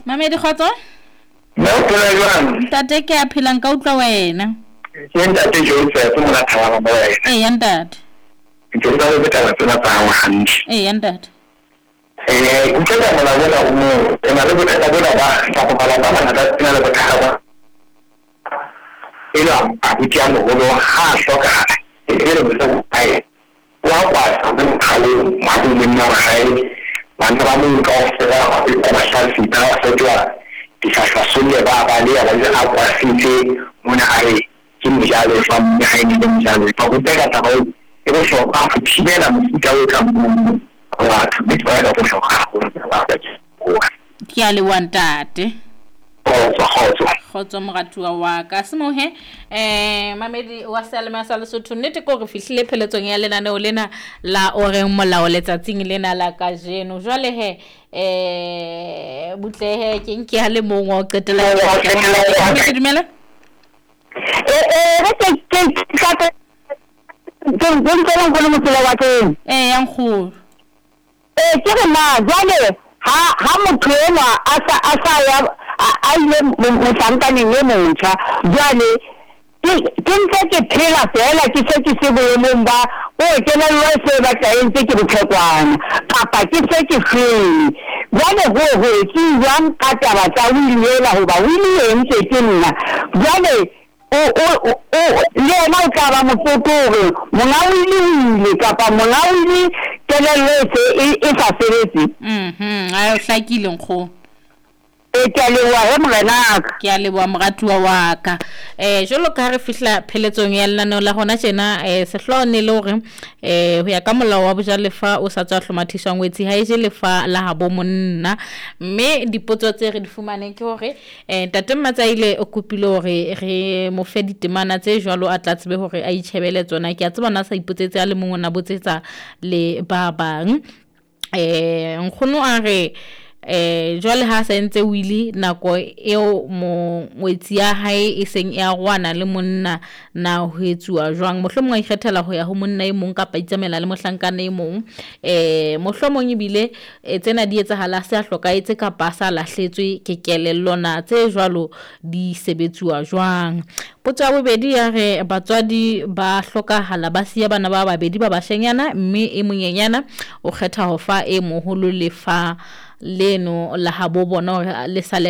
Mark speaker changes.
Speaker 1: Mamedi, kgotso.
Speaker 2: Mme o phela jwang?
Speaker 1: Ntate, ke a phela, nka utlwa wena.
Speaker 2: Ke ntate Joseph mona Thabana mo wena.
Speaker 1: Eya ntate.
Speaker 2: Ke utlwa le taba tsena tsa hao hantle.
Speaker 1: Eya ntate.
Speaker 2: Eh, utlwa ka molao ona o mo re na le bothata bona ba kapa malapa a mangata a na le bothata ba e le abuti a moholo ha a hlokahala e be le mosadi wa hae wa kwata mo mokgalong wa bo monna wa hae bana ba moo kaofela ba mahlatsipa ba fetoha dihlahlasolle ba baleha ba a kwasitse mona a re ke mojalefa mme ha e ne le mojalefa ho beka taba eo e bohlokwa ho thibela mofuta o tlang mono wa batho mme taba ena e bohlokwa haholo.
Speaker 1: Ke a leboha ntate.
Speaker 2: Kgotso, kgotso.
Speaker 1: Kgotso moratuwa wa ka. Semohe mamedi wa seyalemoya sa Lesotho, nnete ke hore fihlile pheletsong ya lenaneo lena la o reng molao letsatsing lena la kajeno. Jwale he butlehe ke nke a le mong wa ho qetela. Ke dumela.
Speaker 3: Re ke ke ke ke ntse le motsela wa teng.
Speaker 1: Eh, ya nkgolo.
Speaker 3: Ee, ke re na jwale ha ha motho enwa a sa a sa ya a ile mohlankaneng e motjha, jwale ke ke ntse ke phela feela ke se ke se boemong ba hore kelello e se batla e ntse ke botlhekwana kapa ke se ke shwele. Jwale ho ho etsuwe jwang ka taba tsa wili ena hoba wili e entswe ke nna. Jwale o, o, o, le yena o tla ba motlotlo hore monga wili o ile kapa monga wili kelello e se e, e sa sebetse.
Speaker 1: Mhm, a o hlakile nkgono.
Speaker 3: Ee, ke a leboha he morenaka.
Speaker 1: Ke a leboha moratuwa wa ka. Jwalo ka ha re fihla pheletsong ya lenaneo la hona tjena, sehlooho ne le hore ho ya ka molao wa bojalefa o sa tswa hlomathiswa ngwetsi ha e je lefa la habo monna. Mme dipotso tse re di fumaneng ke hore Ntate Mmatsaile o kopile hore re mo fe ditemana tse jwalo a tla tsebe hore a itjhebele tsona. Ke a tseba na sa ipotsetse a le mong, o na botsetsa le ba bang. Nkgono a re jwale ha sa entse wili nako eo ngwetsi ya hae e seng e arohana le monna, na ho etsuwa jwang? Mohlomong a ikgethela ho ya ho monna e mong kapa itsamaela le mohlankana e mong. Mohlomong ebile tsena di etsahala a se a hlokahetse kapa a sa lahletswe ke kelello, na tse jwalo di sebetsuwa jwang? Potso ya bobedi ya re batswadi ba hlokahala ba siya bana ba babedi ba bashenyana mme e monyenyana o kgetha ho fa e moholo lefa leno la habo bona hore le sale.